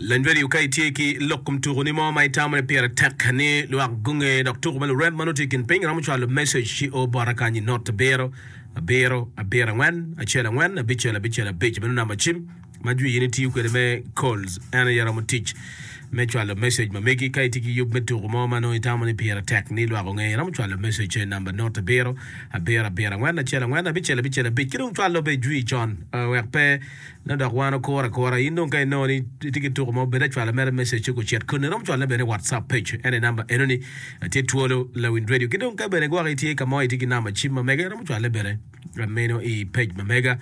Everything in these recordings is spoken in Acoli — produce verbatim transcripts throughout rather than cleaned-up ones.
Lany radio ka itye ki lok kom tuko ni mo ma itamo ni pire tek ni lwak gunge dok tuko ma lurem ma nongo tye i kin piny iromo cwalo message ci o bota kany i not abiro abiro abiro angwen acel angwen abicel abicel abic meno namba cim ma jwi in itiyo kwede me calls en aye romo tic me cwalo message ma megi ka itye ki yub me tuko mo ma nongo itamo ni pire tek ni lwak onge iromo cwalo message i namba not abiro abiro abiro angwen acel angwen abicel abicel abic ki dong cwalo be jwi con uh, wek pe nongo dok wan okuro akura in dong ka inongo ni itye ki tuko mo bed acwalo mere message ci gucit koni iromo cwalone bene i whatsapp page en aye namba enoni tye twolo lawiny radio ki dong ka bene gwok itye ka mo itye ki namba cim ma mege iromo cwale bene meno i page ma mega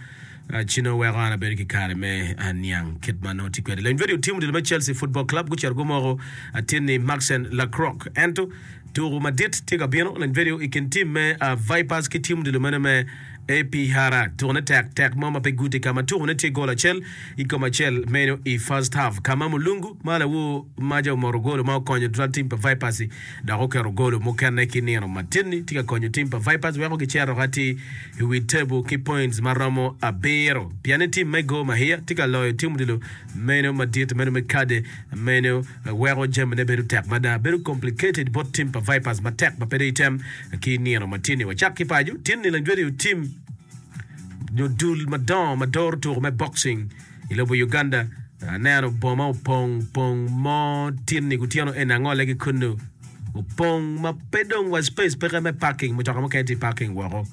ci nongo weko an abedo ki kare me niang kit ma nongo tye kwede. Lawiny radio tim odilo me Chelsea Football Club gucito gumoko atin-ni Maxen Lacroix ento tuko madit tye ka bino. Lawiny radio i kin tim me Vipers ki tim odilo meno me A P Hara tukone tek tek mo ma pe guti ka ma tukone tye gol acel i kom acel meno i first half ka ma Mulungu ma lawor maca omoto golo ma okonyo tutwal tim pa Vipers-i dok oketo golo mukene ki nino matin-ni tye ka konyo tim pa Vipers weko gicito atir i wi tebo ki points ma romo abiro pien ni tim me Gor Mahia tye ka loyo tim odilo meno madit meno me kade meno weko jamine bedo tek mada bedo complicated bot tim pa Vipers matek ma pe dong item ki nino matin-ni. Wacak ki paco tin-ni lajwedi tim nyo dul madongo ma doro tuko me boxing i lobo Uganda aneno boma opong pong mo tin-ni kutyeno eni angole ki kunu opong ma pe dong wa space peke me parking mutoka mukene tye parking woko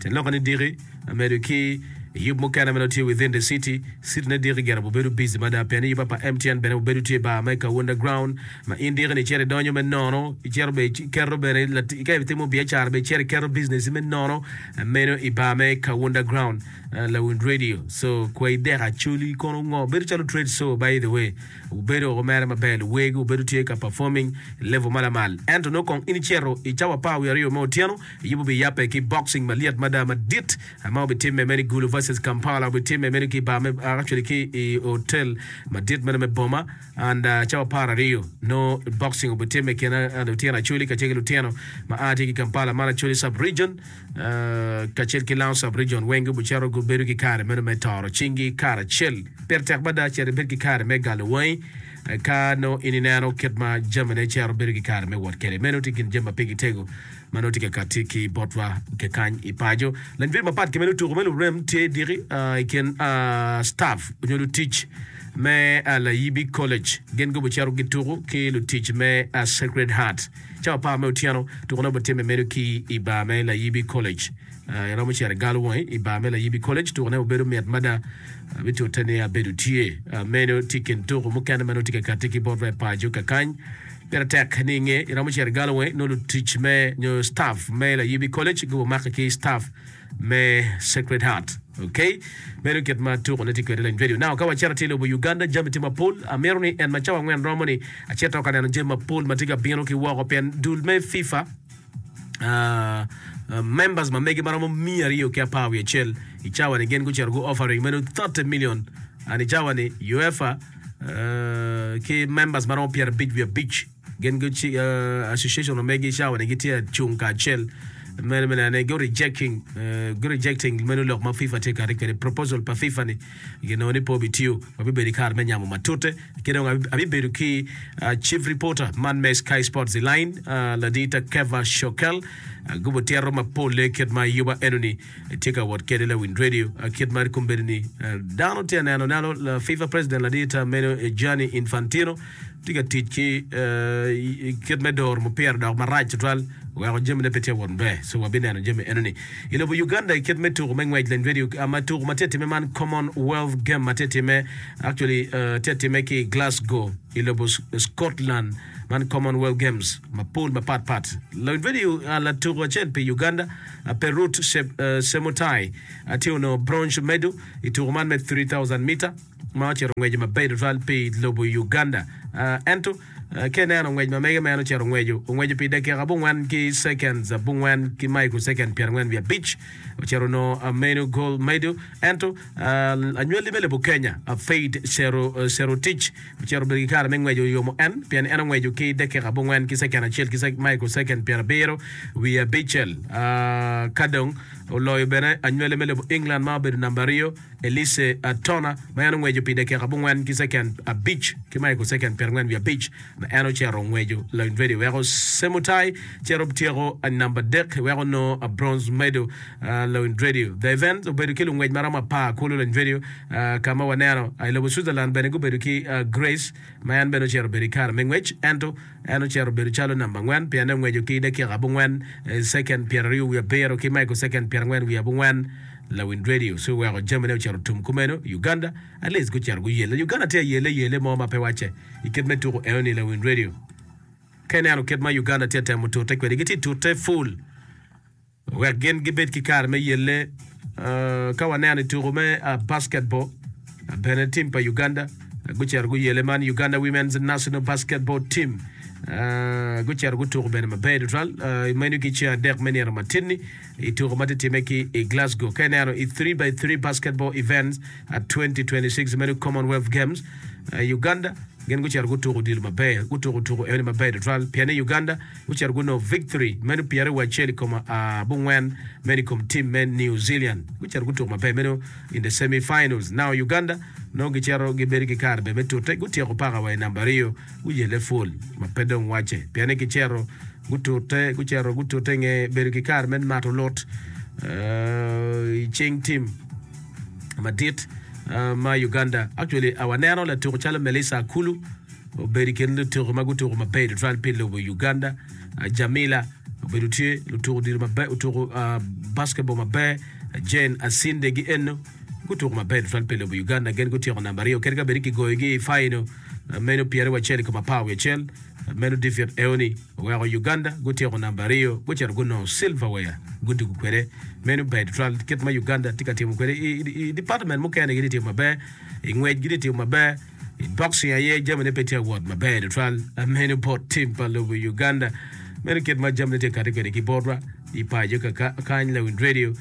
tyen lok ni diki amedo ki yub mukene ma nongo tye within the city city ne diki gire obedo busy mada pien ni yuba pa M T N bene obedo tye bar me Kawunda ground ma in diki ni icito idonyo me nono icito be iketo bene ka itimo biacara be icito iketo business me nono meno i bar me Kawunda ground lawin radio so kwai dek acholi kono ngo bedo calo trade show by the way obedo oko mere maber luwegi obedo tye ka performing level ma lamal ento nongo kong in icito i cawa apar wiye aryo me otyeno yubo biyape ki boxing malyet mada madit ma obitimme meno i Gulu versus Kampala obitimme meno ki bar me actually ki i hotel madit meno me boma and uh, cawa apar aryo no boxing obitimme kine uh, lutino acholi kacel ki lutino ma a tye ki Kampala man acholi sub region uh, kacel ki Lango sub region weng gubucito gubedo ki kare meno me toro cingi karacel pire tek mada cito ibed ki kare me galo wangi ka no in ineno kit ma jamine cito bedo ki kare me wot kwede meno tye kin jami ma pigi tego ma nongo tye ka kati ki botwa kekany i paco lanyut mapat ki meno tuko me lurem tye diki uh, i kin uh, staff nyo lutic me uh, Layibi College gin gubucito gituko ki lutic me uh, Sacred Heart cawa apar me otyeno tuko ne obitimme meno ki i bar me Layibi College uh, iromo cito i galo wangi i bar me Layibi College tuko ne obedo mit mada uh, bitute ni abedo tye uh, meno tye kin tuko mukene ma nongo tye ka kati ki botwa i paco kakany pire tek ni inge iromo cito i galo wangi nongo lutic me nyo staff me Layibi College gubumake ki staff me Sacred Heart okay meno kit ma tuko ne tye kwede lany radio now ka wacito tye lobo Uganda jami tye mapol amito ni en ma cawa angwen romo ni acito ka neno jami mapol ma tye ka bino ki woko pien dul me FIFA uh, uh, members ma mege maromo miya aryo ki apar wiye acel i cawa ni gin gucito gu offering meno thirty million and i cawa ni UEFA uh, ki members maromo pyerabic wiye abic gin guci uh, association ma megi i cawa ni gitye acung kacel meno meno ane go rejecting uh, go rejecting meno lok ma FIFA tye kati kwede proposal pa FIFA ni ginongo ni pe obitiyo wabibedo i kare me nyamo matute ki dong abibedo ki uh, chief reporter man me Sky Sports i line uh, ladita Keva Shokel uh, gubo tiro mapol kit ma yuba enoni tye ka wot kede lawin radio uh, kit ma kombedo ni uh, dano tye neno neno uh, FIFA president ladita meno Gianni Infantino tye ka tic ki uh, kit me doro mupira dok marac tutwal weko jamine pe tye wot maber so wabineno jami enoni i lobo Uganda i kit me tuko me ngwec lany radio uh, ma tuko ma tye time man Commonwealth Game ma tye time actually uh, tye time ki Glasgow i lobo Scotland man Commonwealth Games mapol mapat pat lany radio uh, latuko acel pi Uganda uh, Perut Se, uh, Semutai uh, tye onongo bronze medal i tuko man me three thousand meter ma ocito ngwece maber tutwal pi lobo Uganda uh, ento Ka ineno ngwec ma mege ma en ocito ongweco, ongweco pi dakika abongwen ki seconds abongwen ki microsecond pyerangwen wiye abic, ocito onongo meno gold medal. Ento anywali me lobo Kenya, Faith Cherotich ocito obedo ki kare me ngweco oyomo en pien en ongweco ki dakika abongwen ki second acel ki microsecond pyerabiro wiye abicel. Ka dong oloyo bene anywali me lobo England ma obedo namba aryo, Elise Tona ma en ongweco pi dakika abongwen ki second abic ki microsecond pyerangwen wiye abic ma en ocito ongweco lony ready weko Semutai cito tyeko namba adek weko nongo bronze medal lony ready. The event obedo ki lungwec maromo apar kulu lony ready ka ma waneno i lobo Switzerland bene gubedo ki Grace ma en bene ocito obedo i kare me ngwec ento en ocito obedo calo namba angwen pien en ongweco ki dakika abongwen second pyeraryo wiye abiro ki microsecond pyerangwen wiye abongwen lawin radio ci oweko jamine ocito tum kumeno. Uganda at least gucito guyelle. Uganda tye ayelle yelle mo ma pe wacce i kit me tuko enoni lawin radio. Ka ineno kit ma Uganda tye temo tute kwede, gitye tute full wek gin gibed ki kare me yelle. Ka waneno i tuko me basketball bene team pa Uganda gucito guyelle man Uganda Women's National Basketball Team gucito gutuko bene maber tutwal meno ki ceng adek me nino matinni i tuko ma tye timme ki i Glasgow. Ka ineno i three by three basketball events at twenty twenty-six meno Commonwealth Games Uganda gin gucito gutuko odilo maber, gutuko tuko eni maber tutwal pien ni Uganda gucito gunongo victory meno pyeraryo acel i kom abongwen meno i kom team me New Zealand. Gucito gutuko maber meno in the semi finals. Now Uganda nongo gicito gibedo ki kare bene me tute gutyeko paka wa i namba aryo guyelle full ma pe dong wacce pien ni gicito gutute gucito gutute nge bedo ki kare me mato lut i cing team madit ma Uganda. Actually waneno latuko calo Melissa Akulu obedo i kin lutuko ma gutuko maber tutwal pi lobo Uganda. Jamila obedo tye lutuko odilo maber, otuko basketball maber. Jane Asinde gi eno gutuko maber tutwal pi lobo Uganda. Gin gutyeko namba aryo kadi ka bed ni kigoyogi i final meno pyeraryo acel i kom apar wiye acel. Meno defeat eoni oweko Uganda gutyeko namba aryo gucito gunongo silverware gudugo kwede. Meno ber tutwal kit ma Uganda tye ka timo kwede i department mukene gitye timo maber, i ngwec gitye timo maber, i boxing aye jamine pe tye awot maber tutwal. Meno bot team pa lobo Uganda. Meno kit ma jamine tye kati kwede ki botwa i paco ka kany Lawin Radio.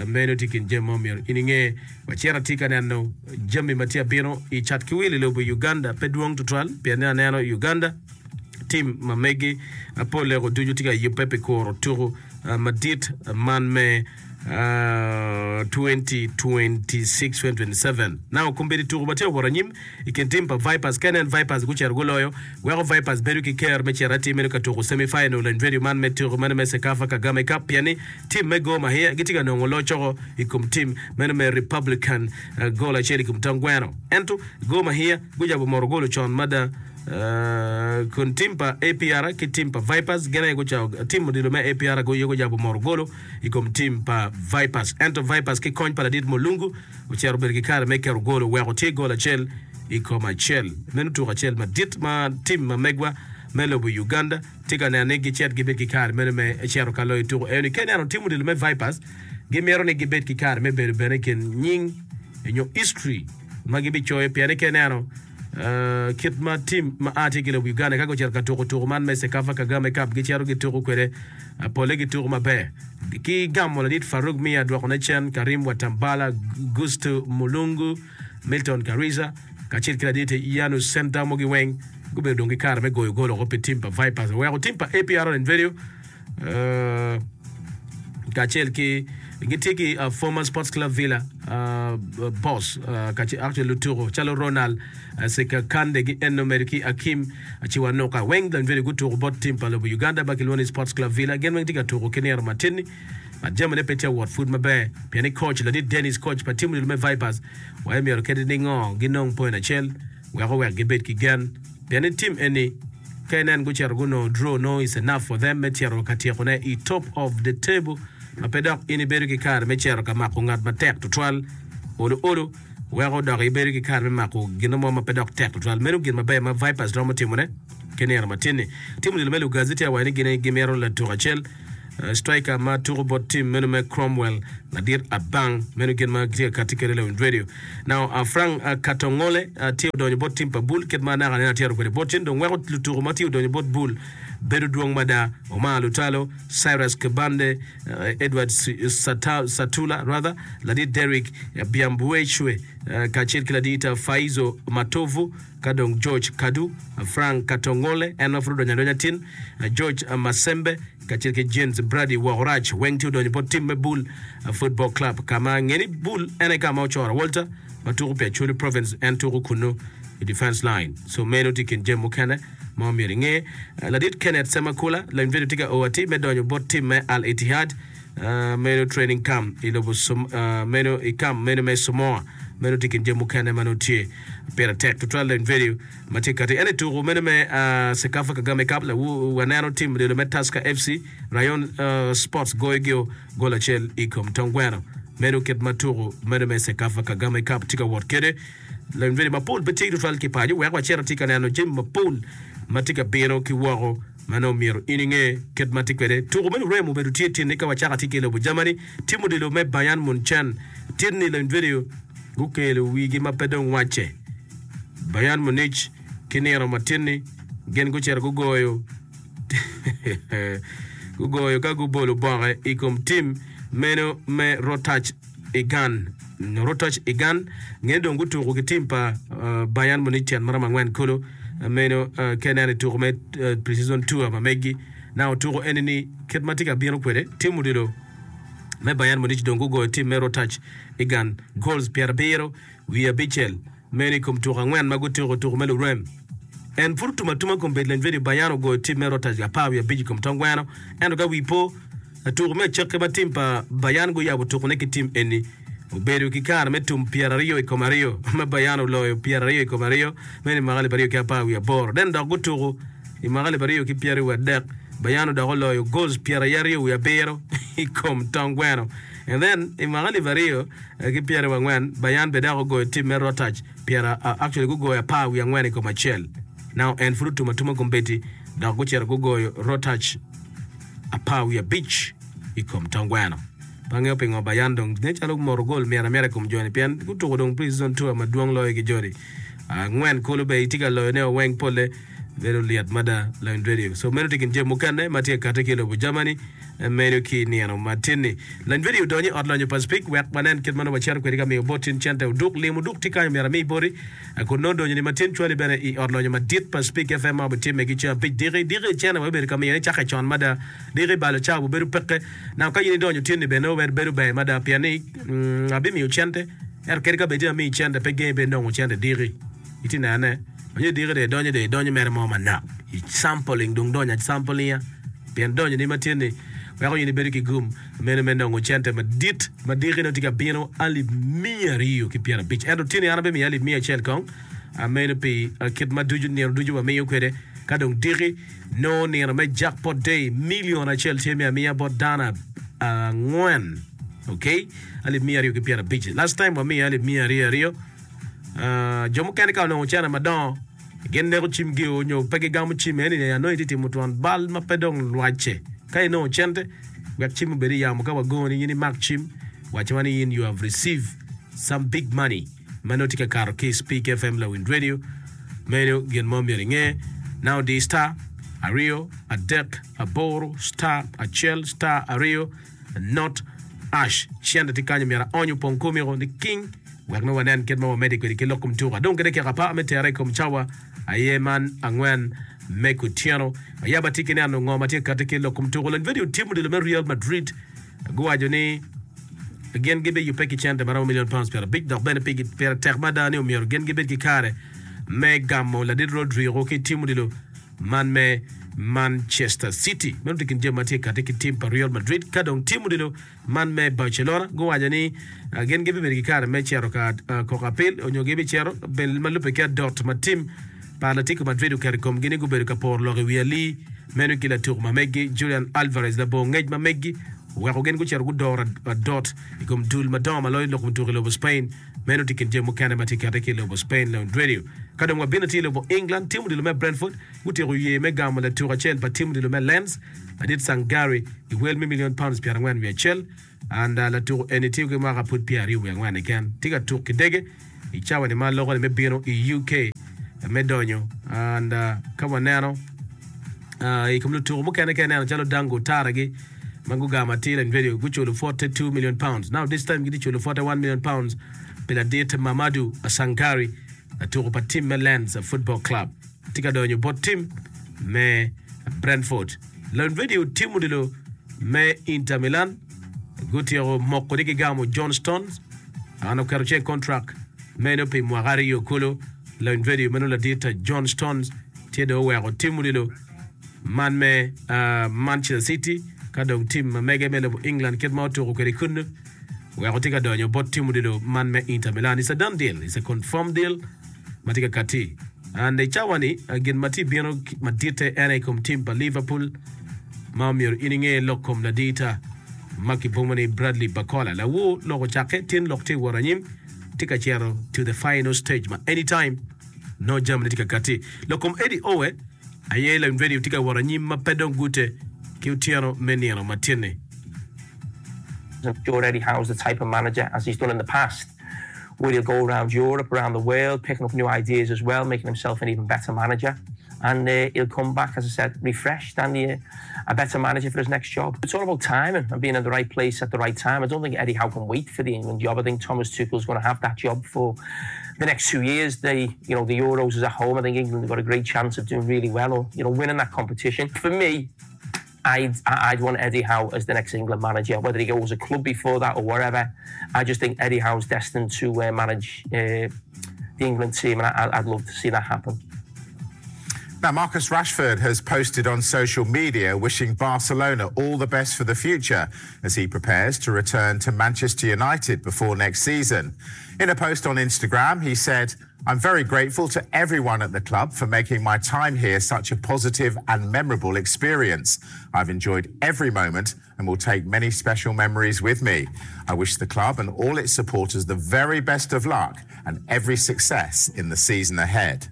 Meno tye kin jami ma omyero in inge. Wacito atye ka neno jami ma tye abino i cat ki wil i lobo Uganda pe dwong tutwal pien ni aneno Uganda team ma megi pol eko ducu tye ka yubbe pi kuro tuko madit man me twenty twenty-six twenty twenty-seven. Now kombeddi tuko ma tye ka wot anyim i kin team pa Vipers ka inen Vipers gucito guloyo weko Vipers bedo ki ker me cito atir meno ka tuko semi final and radio man me tuko meno me CECAFA Kagame Cup pien ni team me Gor Mahia gitye ka nongo locoko i kom team meno me Republican goal acel i kom tong gweno. Ento Gor Mahia gujabo moro golo con mada kun team pa A P R ki team pa Vipers gin aye gucako team odilo me A P R aye gujabo moro golo i kom team pa Vipers. Ento Vipers ki kony pa ladit Mulungu ocito obedo ki kare me keto golo weko tye gol acel i kom acel. Meno tuko acel madit ma team ma megwa me lobo Uganda tye ka neno ni gicit gibed ki kare meno me cito ka loyo tuko eni. Ka ineno team odilo me Vipers gimito ni gibed ki kare me bedo bene i kin nying nyo history ma gibicoyo pien ni ka ineno kit ma team ma a tye ki lobo Uganda ka gucito ka tuko tuko man me CECAFA Kagame Cup gicito gituko kwede pole gituko maber ki gamo ladit Farouk Mia dwokone cen Karim Watambala Gusto Mulungu Milton Karisa kacel ki ladit Yanus Sentamo giweng gubedo dong ki kare me goyo gol oko pi team pa Vipers oweko team pa A P R and Video kacel ki gitye ki former Sports Club Villa boss kacel actually lutuko calo Ronald Sekakande gi eno medo ki Akim Chiwanuka weng dan video gutuko bot team pa lobo Uganda ba kilwongo ni Sports Club Villa gin weng tye ka tuko ki nino matinni but jamine pe tye awot pud maber pien ni coach ladit Dennis coach pa team me Vipers waye myero kede ningo ginong point acel wek owek gibed ki gen pien ni team eni ka inen gucito gunongo draw no is enough for them me cito ka tyekone i top of the table ma pe dok in ibedo ki kare me cito ka mako ngat matek tutwal olo olo weko dok ibedo ki kare me mako gino mo ma pe dok tek tutwal. Meno gin maber ma Vipers romo timone ki nino matinni. Tim odilo me Lugazi tye awaco ni gin gimito latuk acel Striker ma tuko bot tim meno me Cromwell ladit Abang meno gin ma gitye ka kati kwede Lawiny Radio. Now uh, Frank uh, Katongole uh, tye odonyo bot tim pa Bull kit ma naka nene atyero kwede bot tin dong weko lutuko ma tye odonyo bot Bull bedo dwong mada Omar Lutalo, Cyrus Kibande, uh, Edward Sata, Satula rather, ladit Derrick uh, Biambuechwe uh, kacel ki ladit uh, Faizo Matovu ka dong George Kadu, uh, Frank Katongole en ma pud odonyo adonya tin, uh, George uh, Masembe kacel ki James Brady Wokorach weng tye odonyo bot tim me Bull uh, Football Club ka ma ngeni Bull en aye ka ma ocoro Walter ma tuko pi Acholi Province en tuko kunu i defense line so meno tye kin jami mukene ma omyero inge. Uh, ladit Kenneth Semakula lany video tye ka o atir me donyo bot tim me Al Ittihad uh, meno training camp i lobo Som- uh, meno i camp meno me Samoa meno tye kin jami mukene ma nongo tye pire tek tutwal lany video ma tye kati en i tuko meno me uh, Cecafa Kagame Cup lawu waneno tim odilo me Tusker F C Rayon uh, Sports goyo gol acel i kom tong gweno meno kit ma tuko meno me Cecafa Kagame Cup tye ka wot kwede lany video mapol pe tye tutwal ki paco wek wacito tye ka neno jami mapol ma tye ka bino ki woko ma nongo myero in inge kit ma tye kwede tuko me lurem obedo tye tin ka wacako tye ki i lobo Germany tim odilo me Bayern Munchen tin-ni lany video gukelo wigi ma pe dong wacce Bayern Munich ki nino matin-ni gin gucito gugoyo gugoyo ka gubolo boke i kom tim meno me Rottach Egan Rottach Egan ngene dong gutuko ki tim pa uh, Bayern Munich tyen maromo angwen kulu uh, meno uh, ka ineno i tuko me uh, pre-season tour ma megi na otuko eni ni kit ma tye ka bino kwede tim odilo me Bayern Munich dong gugoyo tim me Rottach Egan goals pyerabiro wiye abicel meno i kom tuko angwen ma gutuko tuko me lurem en pud otum atuma kom bed lany video Bayern ogoyo tim me Rottach apar wiye abic i kom tong gweno ento ka wi po tuko me acakki ma tim pa Bayern guyabo tukone ki tim eni obedo ki kare me tum pyeraryo i kom aryo ma Bayern oloyo pyeraryo i kom aryo meno i mwaka alip aryo ki apar wiye aboro then dok gutuko i mwaka alip aryo ki pyeraryo wiye adek Bayern odok oloyo goals pyeraryo wiye abiro i kom tong gweno and then i mwaka alip aryo ki pyeraryo angwen Bayern be dok ogoyo tim me Rottach pyera uh, actually gugoyo apar wiye angwen i kom acel now en pud otum atuma kombeddi dok gucito gugoyo Rottach apar wiye abic i kom tong gweno pe angeyo pingo Bayern dong nen calo moro gol myero amyera i kom joni pien gutuko dong pre-season tour madwong loyo ki joni angwen kulu be itye ka loyone weng pole bedo lyet mada lawiny radio so meno tye kin jami mukene ma tye ka kati ki i lobo Germany meno ki nino matin-ni lany video odonyo i ot lonyo pa Speke wek wanen kit ma nongo wacito kwede ka miyo bot tin cente oduk lim oduk tye kanyo myero ami boti kun nongo donyo ni matin cwali bene i ot lonyo madit pa Speke F M ma obitimme ki ceng abic diki diki cene wabibedo ka miyone cake con mada diki balo cawa obedo peke now ka in idonyo tin-ni bene nongo bedo ber mada pien ni mm, abimiyo cente ento kadi ka bed ni amiyi cente pe gengi bed nongo cente diki itye nene onyo diki de idonyo de idonyo mere mo manok i sampling dong donyo samplinga pien donyo ni matin ni weko in ibedo ki gum meno me nongo cente madit ma diki nongo tye ka bino alip miya aryo ki pyerabic ento tin-ni an abimiyo alip miya acel kong meno pi kit ma ducu nino ducu wamiyo kwede ka dong diki nongo nino me jackpot day million acel tye me amiya bot dano angwen okay alip miya aryo ki pyerabic last time wamiyo alip miya aryo aryo uh, jo mukene ka onongo cene madongo gin neko cimgi nyo pe gigamo cim eni anongo itye timo twon bal ma pe dong lwacce ka inongo cente wek cim obed i yamo ka wagoni in imak cim wacciwa ni in you have received some big money ma nongo tye ka kato ki Speak F M Lawiny Radio meno gin mo myero inge now di star aryo adek aboro star acel star aryo not hash cente tye kanyo myero aony opong komiko ni king wek nongo wanen kit ma wamedde kwede ki lok kom tuko adong kede keka apar me tere i kom cawa aye man angwen me kutyeno ayaba tye ki neno ngo ma tye kati ki lok kom tuko lany video tim odilo me Real Madrid guwaco ni gin gibiyubbe ki cente maromo million pounds pyerabic dok bene pire tek mada ni omyero gin gibed ki kare me gamo ladit Rodrigo ki tim odilo man me Manchester City meno tye kin jami ma tye kati ki tim pa Real Madrid ka dong tim odilo man me Barcelona guwaco ni uh, gin gibibedo ki kare me cito ka uh, koko apil onyo gibicito ma lubbe ki adot ma tim pa Atletico Madrid oketo i komgi ni gubedo ka poro lok i wi ali meno ki latuko ma megi Julian Alvarez labongo ngec ma megi oweko gin gucito gudoro adot i kom dul madongo ma loyo lok mutuko i lobo Spain meno tye kin jami mukene ma tye kati ki i lobo Spain Lawiny Radio Ka dong wabino tye i lobo England, tim odilo me Brentford gutyeko ye me gamo latuk acel pa tim odilo me Lens, ladit Sangare, i wel me million pounds pyerangwen wiye acel. And uh, latuko eni tye ki mwaka pud pyeraryo wiye angwen keken. Tye ka tuk ki dege i cawa ni ma loko ni me bino i U K me donyo. And uh, ka waneno uh, i kom lutuko mukene ka ineno calo Dango Taragi ma gugamo atir en video guculo forty-two million pounds. Now this time gitye culo forty-one million pounds pi ladit Mamadou Sangare, latuko pa tim me Lens Football Club. Tye ka donyo bot tim me Brentford. Lon video tim odilo me Inter Milan gutyeko moko ni gigamo John Stones an oketo ceng contract meno pi mwaka aryo kulu. Lon video meno ladit John Stones tye dong oweko tim odilo man me uh, Manchester City ka dong tim ma mege me lobo England kit ma otuko kwede kunu weko tye ka donyo bot tim odilo man me Inter Milan. It's a done deal, it's a confirmed deal ma tye ka kati. And i cawa ni uh, gin ma tye bino maditte en aye i kom tim pa Liverpool ma omyero in inge lok kom ladita ma kibomo ni Bradley Barcola. Lawo lok ocakke tin lok tye wot anyim tye ka cito to the final stage ma anytime no jamani tye ka kati. Lok kom Eddie Howe aye la radio tye ka wot anyim ma pe dong gute ki otyeno me nino matin-ni. I'm sure Eddie Howe's the type of manager, as he's done in the past, where he'll go around Europe, around the world, picking up new ideas as well, making himself an even better manager. And uh, he'll come back, as I said, refreshed and uh, a better manager for his next job. It's all about timing and being in the right place at the right time. I don't think Eddie Howe can wait for the England job. I think Thomas Tuchel's going to have that job for the next two years. They, you know, the Euros is at home. I think England have got a great chance of doing really well or, you know, winning that competition. For me, I'd, I'd want Eddie Howe as the next England manager, whether he goes a club before that or whatever. I just think Eddie Howe's destined to uh, manage uh, the England team, and I, I'd love to see that happen. Now, Marcus Rashford has posted on social media wishing Barcelona all the best for the future as he prepares to return to Manchester United before next season. In a post on Instagram, he said, "I'm very grateful to everyone at the club for making my time here such a positive and memorable experience. I've enjoyed every moment and will take many special memories with me. I wish the club and all its supporters the very best of luck and every success in the season ahead."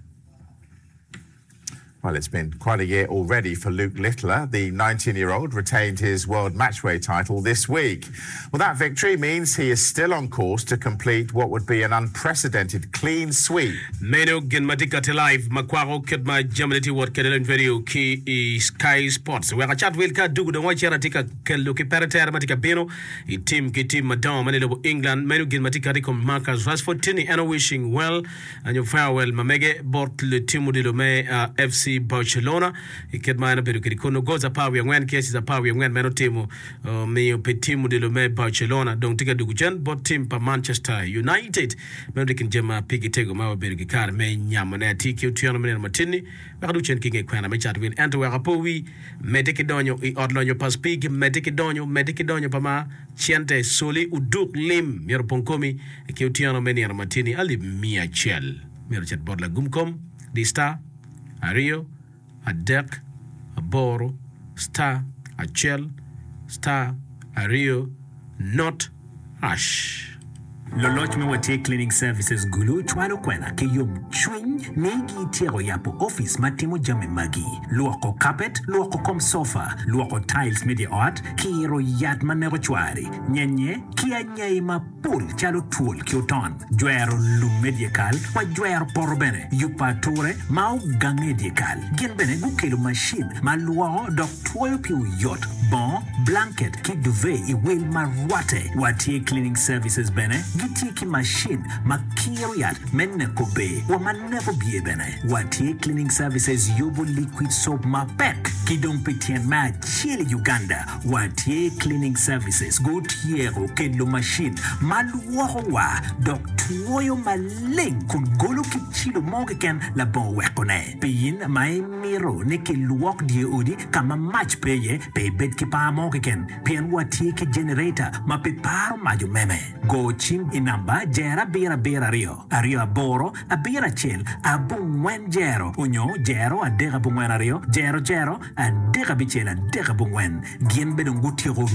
Well, it's been quite a year already for Luke Littler. The nineteen-year-old retained his World Matchplay title this week. Well, that victory means he is still on course to complete what would be an unprecedented clean sweep. Meno gin ma tye kati live ma kwako kit ma jamani tye wot kwede lony video ki i Sky Sports. Wek acat wil ka dugu dong wacito atye ka kelo ki pere tere ma tye ka bino i tim ki tim madongo ma ni lobo England. Meno gin ma tye kati i kom Marcus Rashford tini en wishing well anyo farewell ma mege bot tim odilo me uh, F C Barcelona i kit ma en obedo kwede kono goals apar wiye angwen ki assists apar wiye angwen meno timo uh, miyo pi tim odilo me Barcelona dong tye ka dugu cen bot tim pa Manchester United. Meno tye kin jami ma pigi tego ma wabedo ki kare me nyamone atye ki otyeno me nino matin-ni wek adug cen ki nge kwena me cat wil ento wek apo wi medde ki donyo i ot lonyo pa Speke medde ki donyo medde ki donyo pa ma cente soli uduk lim myero opong komi ki otyeno me nino matin-ni alip mia acel myero ocit bot lagum kom di star aryo adek aboro star acel star aryo not hash. Loloc me Watye Cleaning Services Gulu cwalo kwena ki yomcwiny ni gityeko yabo office ma timo jami magi: lwoko carpet, lwoko kom sofa, lwoko tiles me di ot, kiro yat ma neko cwari nyenye ki anyai mapol calo twol ki oton, jwero lum me dyekal wa jwero poto bene, yubo ature ma ogange i dyekal. Gin bene gukelo macin ma lwoko dok twoyo pi oyot bongo, blanket ki duvet i wel ma rwate. Watye Cleaning Services bene gitye ki macin ma kiro yat me neko bee wa ma neko bye bene. Watye Cleaning Services yubo liquid soap mapek ki dong pi tyen me acel i Uganda Watye Cleaning Services gutyeko kelo macin ma lwoko wa dok twoyo maleng kun golo ki cilo mo keken labongo wekone. Pi in ma imito ni kilwok dye odi ka ma mac pe iye, pe ibed ki par mo keken pien watye ki generator ma pe paro mac omeme. Go cim i namba jero abiro abiro aryo aryo aboro abiro acel abongwen jero onyo jero adek abongwen aryo jero jero adek abicel adek abongwen. Gin bene dong gutyeko.